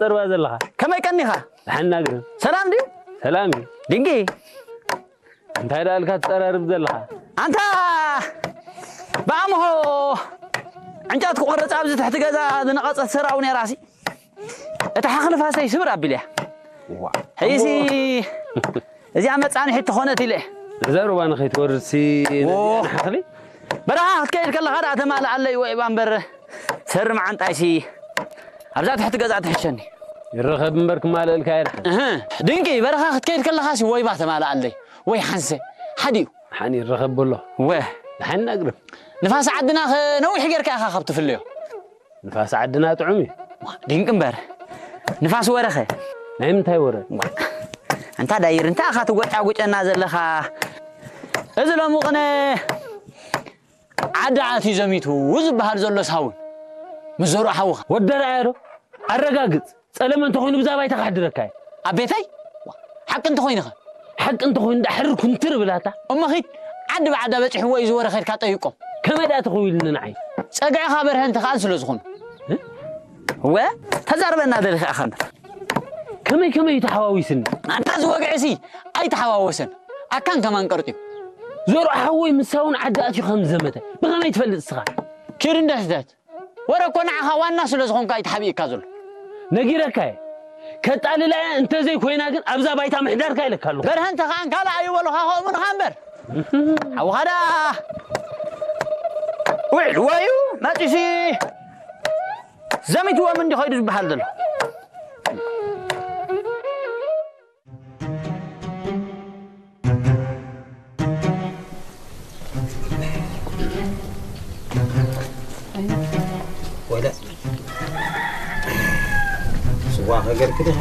ትጸርባ ዘለኻ? ከመይ ቀኒኻ? ደሓን ናግርም። ሰላም ድዩ? ሰላም እዩ። ድንቂ። እንታይ ደኣ ኢልካ ትጸራርብ ዘለኻ? ኣንታ ብኣምሆ ዕንጨት ክቆርጽ ኣብዚ ትሕቲ ገዛ ዝነቐጸት ሰራው ነይራሲ። እታ ሓኽሊ ፋሰይ ስብር ኣቢልያ። ዋ። ሕይሲ እዚኣ መጻንሒት ትኾነት ኢለ። እዛ ሩባ ንኸይትወርድሲ ዎ። ነዚኣ ንሓኽሊ? በረኻ ክትከይድ ከለኻ ደኣ ተማልኣለይ ወይ እባ እምበር ሰሪ መዓንጣይሲ ኣብዛ ትሕቲ ገዛ ትሕሸኒ። ይረኸብ እምበር ክማልእልካ የድሓን። እህ፣ ድንቂ በረኻ ክትከይድ ከለኻሲ ወይባ ተማልኣለይ ወይ ሓንሰ ሓዲኡ። ሓኒ ይረኸብ በሎ። ወ። ሓኒ ናግርም። ንፋስ ዓድና ኸ ነዊሕ ጌርካ ኢኻ ካብ ትፍለዮ። ንፋስ ዓድና ጥዑም እዩ። ድንቂ እምበር ንፋስ ወረኸ። ናይ ምንታይ ወረ? ኣንታ ዳይር እንታይ ኢኻ ትጎጫጉጨና ዘለኻ? እዚ ሎሚ ቅነ ዓዲ ኣትዩ ዘሚቱ ዝበሃል ዘሎ ሳውን ምስ ዘርኡ ሓውኻ። ወደረኣዮ ዶ? ኣረጋግጽ። ጸለመ እንተኾይኑ ብዛ ባይታ ከሕድረካ እየ። ኣብ ቤተይ? ሓቂ እንተኾይኑ ኸ? ሓቂ እንተኾይኑ ደኣ ሕርር ኩንትር ብላታ። እሞ ኺድ ዓዲ ብዓዳ በጺሕዎ እዩ ዝወረ ኸድካ ጠይቆም። ከመይ ደኣ ተኸዊልኒ ንዓይ? ጸግዕኻ በርሀ እንተ ኸኣን ስለ ዝኾኑ። እ? እወ፣ ተዛርበና ደሊኻ ኢኻ እምበር። ከመይ ከመይ እዩ ተሓዋዊስኒ? ኣንታ ዝወግዕሲ ኣይተሓዋወሰን። ኣካን ከማን ቀርጢዩ። ዞሮ ሓወይ ምሳውን ዓዲ ኣትዩ ከም ዘመተ ብኸመይ ትፈልጥ እስኻ? ኪድ እንደ ሕተት። ወረ እኮ ንዓኻ ዋና ስለ ዝኾንካ እዩ ተሓቢእካ ዘሎ። ነጊረካ እየ። ከጣልላ እየ፣ እንተዘይኮይና ግን ኣብዛ ባይታ ምሕዳርካ ኢለካ ኣለኹ። በርሀ እንተ ኸኣን ካልእ ኣይበሉኻ ከምኡ ንኻ እምበር። ሓውኻ ደኣ ውዒልዎ እዩ መጺሲ ዘሚትዎም እንዲ ኸይዱ ዝበሃል ዘሎ። ወደ ስዋ ከገልክልህ